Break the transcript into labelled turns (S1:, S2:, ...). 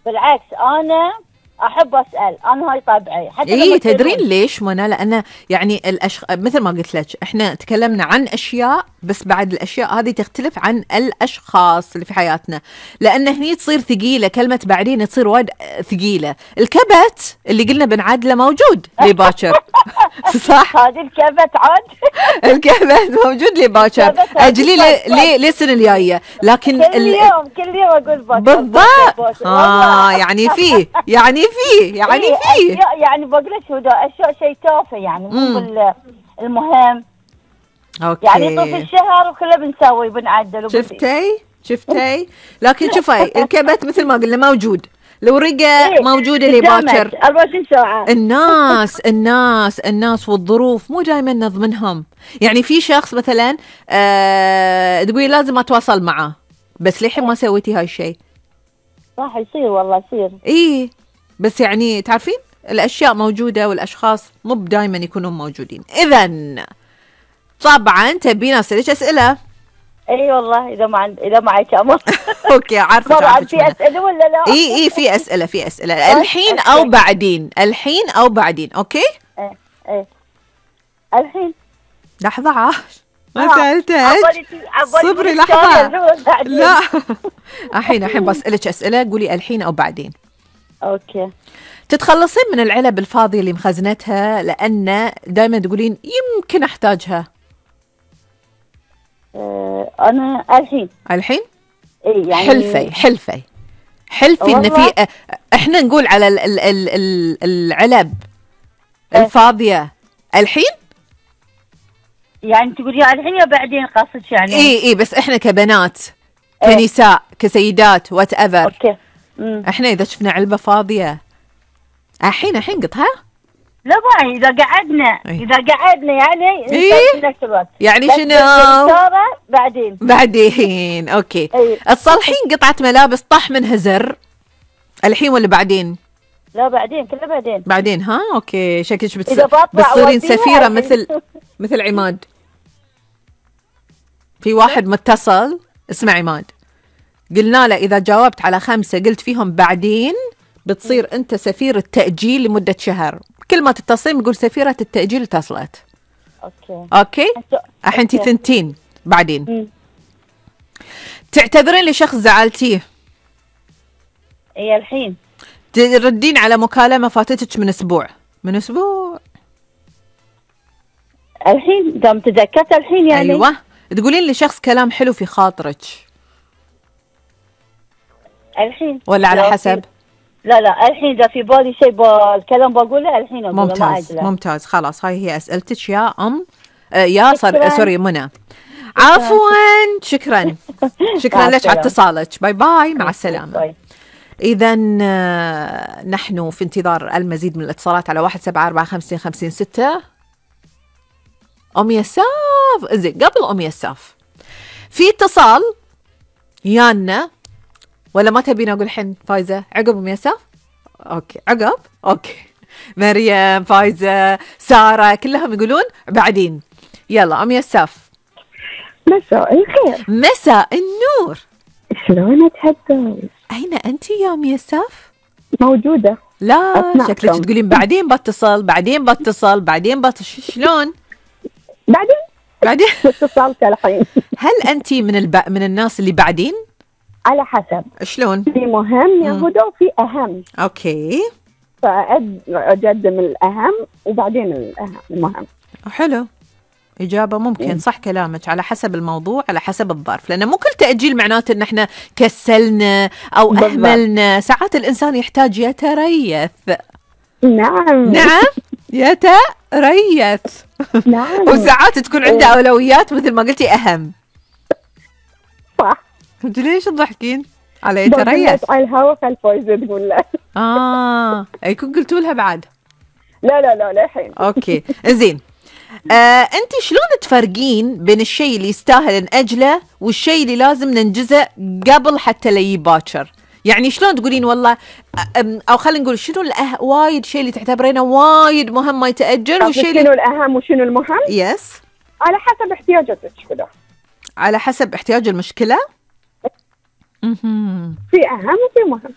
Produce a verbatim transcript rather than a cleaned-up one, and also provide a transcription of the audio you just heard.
S1: بالعكس انا احب اسال، انا هاي طبعي. حتى
S2: ايه تدرين ليش منى؟ لان يعني الأشخ... مثل ما قلت لك احنا تكلمنا عن اشياء، بس بعد الاشياء هذه تختلف عن الاشخاص اللي في حياتنا، لان هني تصير ثقيله، كلمه بعدين تصير وايد ثقيله. الكبت اللي قلنا بنعدله موجود لي باكر صح؟
S1: هذه الكبت عاد
S2: الكبت موجود لي باكر، اجلي ليه ليه السنه الجايه، لكن
S1: كل يوم كل يوم اقول باكر
S2: بالضبط. اه يعني فيه يعني فيه يعني فيه
S1: يعني بقول لك شو ده اشياء شيء تافه يعني مو المهم.
S2: اوكي
S1: يعني طول الشهر وكله بنسوي بنعدل.
S2: شفتي شفتي لكن شوفي الكبت مثل ما قلنا موجود، الورقه
S1: إيه؟
S2: موجوده لي باكر.
S1: أربعة وعشرين ساعة.
S2: الناس الناس الناس والظروف مو دائما نضمنهم. يعني في شخص مثلا آه تقولي لازم اتواصل معه، بس للحين ما سويتي هاي الشيء.
S1: صح يصير والله يصير.
S2: ايه بس يعني تعرفين الاشياء موجوده والاشخاص مو دائما يكونون موجودين. اذا طبعا تبين اسالك اسئله.
S1: اي والله اذا ما عند اذا معك امر.
S2: اوكي عارفه
S1: طبعا في اسئله ولا لا؟
S2: اي اي في اسئله في اسئله الحين او بعدين، الحين او بعدين. اوكي
S1: ايه ايه الحين.
S2: لحظه عاش ما سالتك، صبري لحظه. لا الحين الحين بسالك اسئله، قولي الحين او بعدين.
S1: اوكي.
S2: تتخلصين من العلب الفاضيه اللي مخزنتها لان دائما تقولين يمكن احتاجها؟
S1: أه انا الحين.
S2: الحين؟
S1: اي يعني
S2: حلفي حلفي حلفي ان في احنا نقول على ال ال ال ال العلب أه. الفاضيه الحين؟
S1: يعني تقولي الحين يا بعدين قصدك يعني؟
S2: اي اي بس احنا كبنات كنساء أه. كسيدات وات ايفر.
S1: اوكي.
S2: مم. احنا اذا شفنا علبه فاضيه الحين الحين قطها؟
S1: لا باي اذا قعدنا
S2: أي.
S1: اذا قعدنا يعني
S2: إيه؟
S1: في نفس الوقت
S2: يعني شنو؟
S1: بعدين
S2: بعدين اوكي.
S1: أي.
S2: تصلحين قطعه ملابس طاح منها زر الحين ولا بعدين؟
S1: لا بعدين كله بعدين.
S2: بعدين ها اوكي. شكلك بتص...
S1: بتصيرين
S2: بتصيرين سفيره مثل مثل عماد. في واحد متصل اسمه عماد، قلنا له اذا جاوبت على خمسه قلت فيهم بعدين بتصير انت سفيرة تأجيل لمدة شهر. كل ما تتصلين بقول سفيرة التأجيل اتصلت.
S1: اوكي
S2: اوكي الحين انتي ثنتين بعدين.
S1: مم.
S2: تعتذرين لشخص زعلتيه؟
S1: اي الحين.
S2: تردين على مكالمة فاتتك من اسبوع من اسبوع
S1: الحين دام تذكرت الحين يعني.
S2: ايوه. تقولين لشخص كلام حلو في خاطرك
S1: الحين
S2: ولا على حسب؟
S1: لا لا الحين اذا في بالي شيء الكلام بقوله الحين اقوله.
S2: ممتاز ممتاز خلاص هاي هي اسئلتك يا ام آه يا صر... سوري منى. عفوا شكرا شكرا لك على اتصالك. باي باي مع السلامه. اذا نحن في انتظار المزيد من الاتصالات على واحد سبعة أربعة خمسين خمسين ستة. ام يساف زين قبل ام يساف في اتصال يانا ولا ما تبين اقول الحين فايزه عقب ام يساف؟ اوكي عقب اوكي. مريم فايزه ساره كلهم يقولون بعدين. يلا ام يساف.
S3: مساء الخير.
S2: مساء النور.
S3: شلونك حتى؟
S2: اين انت يا ام يساف؟
S3: موجوده.
S2: لا شكلك تقولين بعدين بتصل بعدين بتصل بعدين بتصل. شلون
S3: بعدين
S2: بعدين
S3: اتصلت الحين.
S2: هل انت من الب... من الناس اللي بعدين؟
S3: على حسب.
S2: شلون؟
S3: في مهم يا هدى وفي أهم.
S2: أوكي.
S3: فأقدم الأهم وبعدين الأهم المهم.
S2: حلو. إجابة ممكن. م. صح كلامك على حسب الموضوع على حسب الظرف، لأنه مو كل تأجيل معناته إن إحنا كسلنا أو بالضبط. أهملنا. ساعات الإنسان يحتاج يتريث.
S3: نعم
S2: نعم يتريث.
S3: نعم.
S2: وساعات تكون عنده أولويات مثل ما قلتي أهم.
S3: صح.
S2: انت ليش تضحكين على يتريث؟
S3: على الهوا خلفويزه تقول له.
S2: اه يكون قلتوا لها بعد؟
S3: لا لا لا للحين.
S2: اوكي زين. آه، انت شلون تفرقين بين الشيء اللي يستاهل نأجله والشيء اللي لازم ننجزه قبل حتى لي باكر؟ يعني شلون تقولين والله او خلينا نقول شنو الأه... وايد شيء اللي تعتبرينه وايد مهم ما يتأجل والشيء
S3: شنو اللي... الاهم وشنو المهم؟
S2: يس
S3: على حسب احتياجاتك كذا.
S2: على حسب احتياج المشكلة.
S3: في أهم وفي مهم.